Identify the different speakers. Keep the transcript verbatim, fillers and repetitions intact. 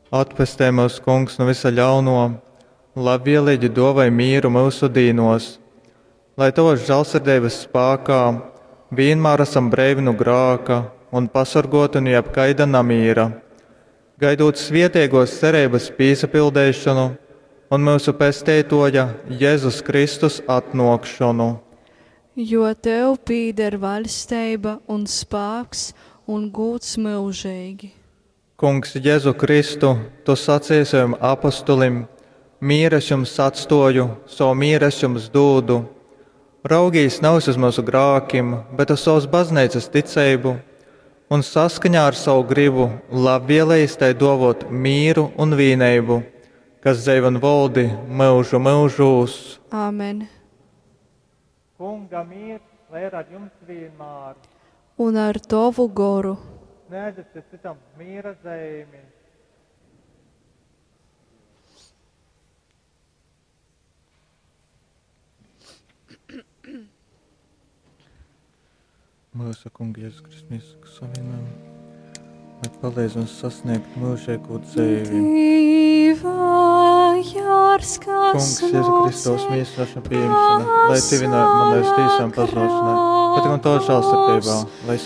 Speaker 1: Atpestej myus, Kungs, nu visa ļauno, labvielīgi dovai mīru myusu dīnos, lai Tavas žālsirdeibas spākā vienmēr esam breivi nu grāka un pasorgoti nu jebkaida namīra, gaidot svietiegos cerības pīsapildeišanu un myusu Pesteitoja Jēzus Kristus atnākšanu.
Speaker 2: Jo tev pīder vaļsteiba un spāks un gūds myužeigi.
Speaker 1: Kungs, Jēzu Kristu, tu sacīji saviem apostulim: Mīru es jums atstoju, savu mīru es jums dūdu. Raugīs nevis uz mūsu grākim, bet uz savas baznīcas ticību, un saskaņā ar savu gribu labvēlējis tai dovot mīru un vīneibu, kas dzeiv un valdi mūžu mūžūs.
Speaker 2: Āmen.
Speaker 1: Kunga miers, lai ir ar jums vienmēr.
Speaker 2: Un ar tovu goru.
Speaker 1: Sniedziet citam miera zīmi. Mūsu Kunga Jēzus Kristus mīsas savienojumu, lai palīdz mums sasniegt mūžīgo dzīvi.
Speaker 2: Dieva jārs, kas
Speaker 1: Kungs, Jēzu Kristus mīsas rašana pieņemšana, lai tuvinātu manai uz tīsām pazušanai, bet gan Tavā žēlsirdībā, lai